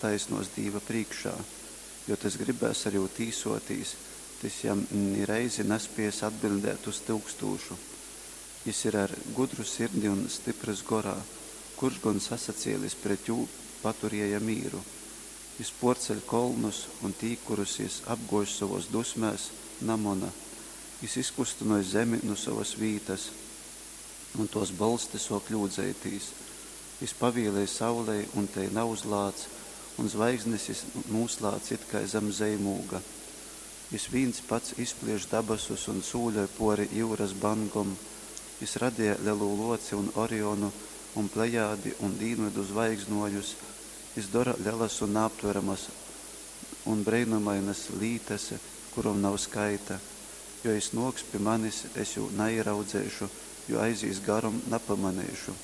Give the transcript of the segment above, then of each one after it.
attaisnōs Dīva prīškā? Jo tys gribēs ar jū tīsōtīs, tys jam ni reizi naspēs atbiļdēt uz tyukstūšu. Jys ir ar gudru sirdi un styprys gorā, kurš gon sasacēlis pret jū, paturēja mīru? Jys pōrceļ kolnus, un tī, kurus jys apgōž sovōs dusmēs, namona. Jys izkustynoj zemi nu sovas vītas, un tōs bolsti sōk ļūdzeitīs. Jys pavielej saulei, un tei nauzlāc, un zvaigznes jys nūslādz it kai zam zeimūga. Jys vīns pats izplieš dabasus un sūļoj pōri jyuras bangom. Jys radeja Lelū Lōci un Orionu, un Plejādi un dīnvydu zvaigznōjus. Jys dora lelas un naaptveramas un breinumainas lītas, kurom nav skaita. Jo jys nōks pi manis, es jū naīraudzeišu, jo aizīs garom, napamaneišu.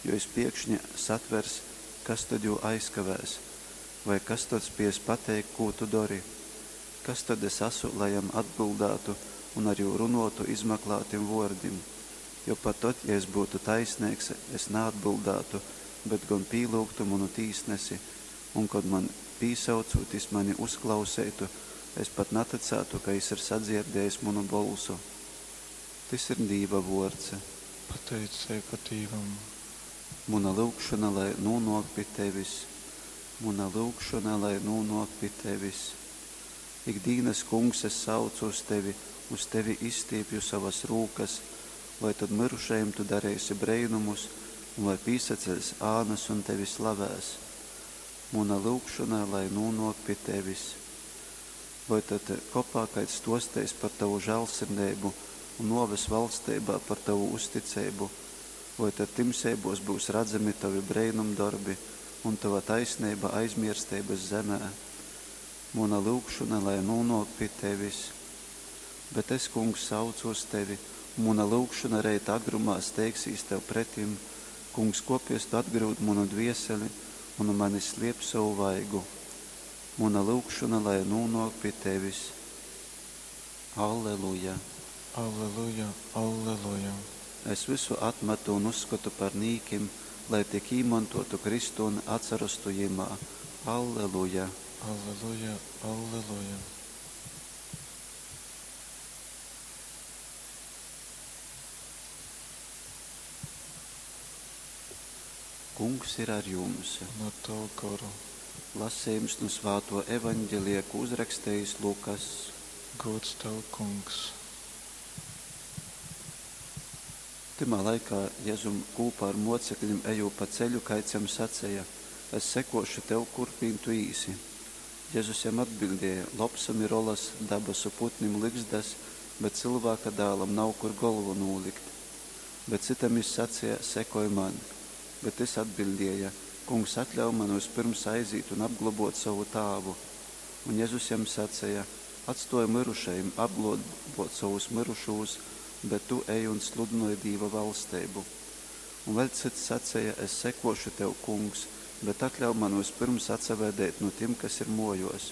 Jo jys piekšņi satvers, kas tod jū aizkavēs? Vai kas tod spies pateikt, kū tu dori? Kas tod es asu, lai jam atbyldātu un ar jū runōtu izmaklātim vōrdim? Jo pat tod, ja es byutu taisneigs, es naatbyldātu, bet gon pīlyugtu munu tīsnesi, un kod man pīsaucūt jys mani uzklauseitu, es pat natycātu, ka jys ir sadzierdējis munu bolsu. Tys ir Dīva vōrds. Pateiceiba Dīvam. Muna lyugšona lai nūnōk pi tevis. Muna lyugšona lai nūnōk pi tevis. Ik dīnas, Kungs, es saucu uz tevi, uz tevi izstīpju sovas rūkas. Vai tod myrušajim tu dareisi breinumus, un vai pīsaceļs ānas un tevi slavēs? Muna lyugšona lai nūnōk pi tevis. Voi tod kopā kaids stōsteis par tovu žāļsirdeibu, un nōves valsteibā par tovu uzticeibu? Voi tod timseibōs byus radzami tovi breinumdorbi, un tova taisneiba aizmiersteibas zemē? Muna lyugšona lai nūnōk pi tevis. Bet es, Kungs, saucu uz tevi, un muna lyugšona reita agrumā steigsīs tev pretim. Kungs, kōpēc tu atgryud munu dvieseli un nu manis sliep sovu vaigu? Muna lyugšona lai nūnōk pi tevis. Alleluja! Alleluja, alleluja! Es vysu atmatu un uzskotu par nīkim, lai tik īmontōtu Kristu un atsarostu Jymā. Alleluja! Alleluja, alleluja! Kungs ir ar jums. Un ar tavu goru. Lasejums nu svātō Evaņgelija, kū uzrakstejis Lukass. Gūds tev, Kungs. Tymā laikā Jezum kūpā ar mōceklim ejūt pa ceļu, kaids jam saceja: Es sekōšu tev, kurp vīn tu īsi. Jezus jam atbiļdēja: Lopsom ir olas, dabasu putnim lygzdas, bet Cylvāka Dālam nav kur golvu nūlikt. Bet cytam jys saceja: Sekoj man. Bet tys atbiļdēja: Kungs, atļauj man vyspyrms aizīt un apglobōt sovu tāvu. Un Jezus jam saceja: Atstōj myrušajim apglobōt sovus myrušūs, bet tu ej un sludynoj Dīva valsteibu. Un vēļ cyts saceja, Es sekōšu tev, Kungs, bet atļauj man vyspyrms atsavēdeit nu tim, kas ir mōjōs.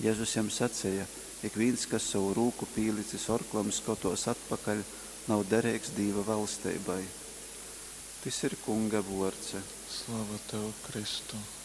Jezus jam saceja, Ikvīns, kas sovu rūku pīlicis orklam skotōs atpakaļ, nav dereigs Dīva valsteibai. Tys ir Kunga vōrds. Slava tev, Kristu!